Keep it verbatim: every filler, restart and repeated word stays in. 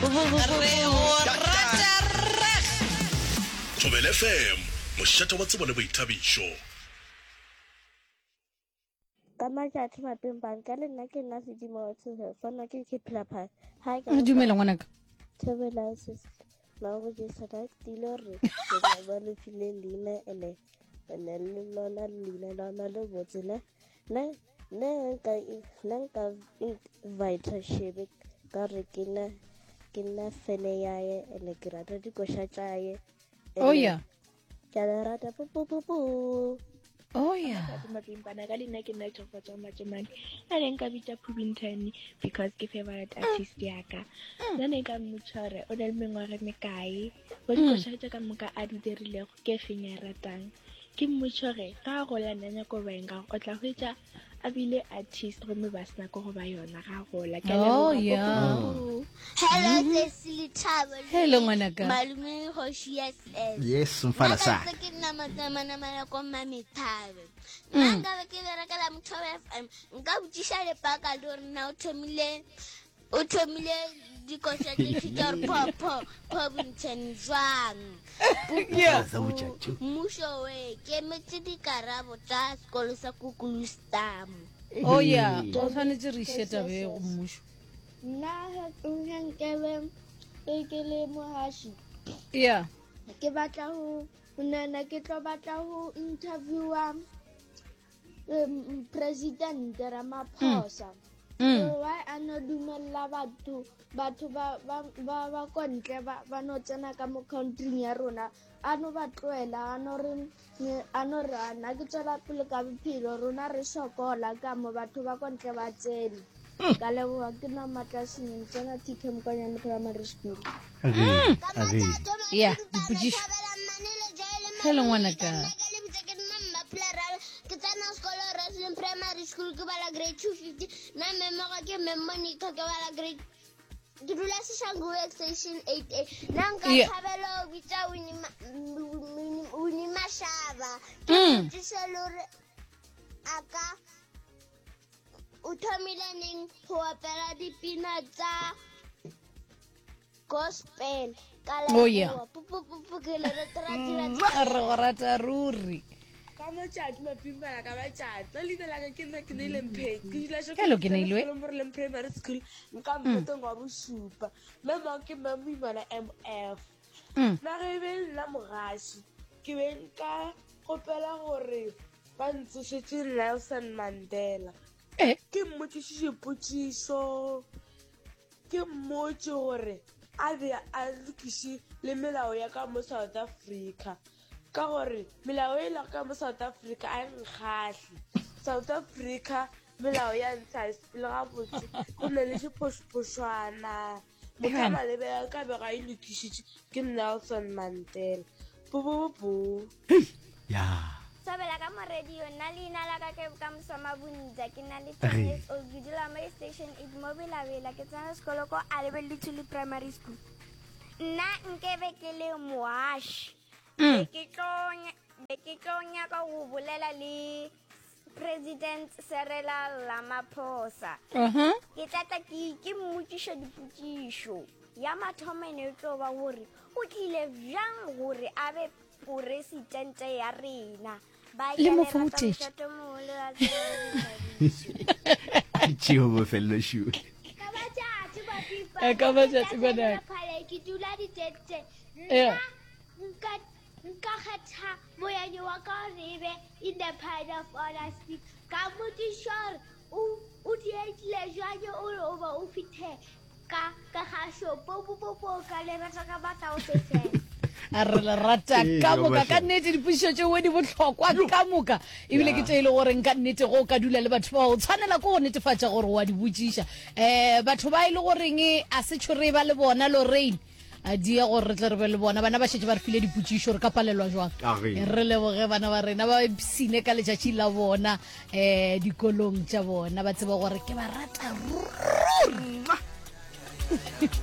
Re go rata reg. Thobela F M, mošate wa tsebo le boithabišo. Ka matšatši mapeng banka le nna ke nna sedimo wa tshoge fana ke ke phela pha ha ka Dumela ngwanaka. Thobela sis mago Jesu na tile re ke ba ba le file leina ene ene le lona leina la le botse ne ne ne nka nna nka invite Shebe ka re ke nna ke nna fene yaye ene ke rata dikoša tšaye. Oh yeah. Ke a le rata pu pu pu pu. Oh yeah. Mapimpana ka leina ke nna Tshofatso Matšemane. A ne nka bitša Phubintane because ke favorite artist ya ka. Nna ne nka mmotša gore o na le mengwaga e mekae, go dikoša tša ka moka a di dirilego ke efeng ya ratang. Ke mmotša gore ga a gola nna nyako ba eng, ka gore o tla hwetša a bile artist gomme ba sena ko go ba yona ga a gola. Ke a Oh leboga. yeah. Hello, Cecily Thabo. Hello ngwanaka. Malume Hoshi S S. Yes, mfana sa. sa. Ke nna matsamanamana ko Mami Thabe. Nna nka be ke berekela Mothobe F M. Nka botšiša lepaka le gore na o thomile o thomile dikoša tše tša gore pho pho pho bontšhane jwang. Yeah. Mmušo we ke emetse dikarabo tša sekolo sa Kukulustam. Oh yeah. O tshwanetse re iše tabe go mmušo. Nna ge nkebe ke ke le mohaši Yeah. ke batla go nana ke tlo batla go interviewa um, President Ramaphosa. Mm. Why a no dumella batho batho ba ba ba ba kontle ba ba no tsena ka mo countryng ya rona, a no ba tloela, a no re a no re a nna ke tswela pele ka bophelo, rona re sokola ka mo, batho ba kontle ba tsene. Ka leboga, ke nna Matlaseneng tsena T K Mokonyane Primary School. Age, age. Yeah, dipotšišo. Hello ngwanaka. Ke tsena sekolo Wrestling Primary School, ke bala grade two fifty. Nna mmemogo ke mme Monica, ke bala grade, ke dula Seshangu Extension eight A. Nna nka Yeah. thabela go bitsa Winnie Ma- Winnie- Winnie Mashaba, ke Mm. botšiše le gore a ka o thomile neng go opela dipina tsa gospel. Ka Oh, yeah. leboga. Pu, pu, pu, pu, ke le rata, rata, rata. Re go rata ruri. Ka matšatši mapimpana ka matšatši nna leina laka ke nna ke neile Mpheng, ke dula Hello, ke Neilwe. Moreleng Primary School, nka mpotong wa bošupa. Mme mao ke mme Moimana M F. Mm. Nna ge e be nna mogaši, ke be nka kgopela gore ba ntsošetše Nelson Mandela. Eh. Ke mmotšiše dipotšišo, ke mmotse gore a be a lokiše le melao ya ka mo South Africa, ka gore melao e lego ka mo South Africa a e nkgahle. South Africa melao ya ntsha e sepele gabotse, go na le diphošophošwana. Motho a Evan. malebe a ka be ga e lokišitše ke Nelson Mandela. Bobobo. Ya. Sobela ka mo radio, nna leina la ka ke ka Mosoma Bontja, ke na le Re. ten years old, ke dula mo Station eight mo Belabela, ke tsena sekolo ko Alebelithuli Primary School. Nna nkebe ke le moaši, be ke tlo nya- be ke tlo nyaka go bolela le President Cyril Ramaphosa. Uh-huh. Ke tla tla ke ke mmotšiša dipotšišo. Ya mathomo ene e tlo ba gore o tlile bjang gore a be poresitente ya rena. Ba Le ke mo le rata. foutetse. Mošate o mogolo wa tsebo le boithabišo. Tšeo bofelelo šule. Ka matšatši mapipa. Eh, ka matšatši, ngwanaka. Phale, ke dula ditente. Yeah. Nna nka nka kgetha moyane wa ka gore e be in the pride of honesty. Ka mmotšiša gore o o dietile jwang ore o ba o fithe ka ka gašo po po po po. Ka le rata ka batla o sefela. A re le rata Ee, ka moka. Ka Mahle. nnete dipotšišo tšeo di bohlokwa ka moka, ebile ke tše e le goreng ka nnete go o ka dula le batho bao o tshwanela ke go netefatša gore wa di botšiša. um batho ba e le goreng a se tšhore ba le bona Lorraine a dia gore re tle re be le bona, bana ba šetše ba re file dipotšišo, re ka palelwa jwang? Age. Re leboge bana ba rena ba ipsine ka letšatši la bona um dikolong tša bona, ba tseba gore ke ba rata ruri.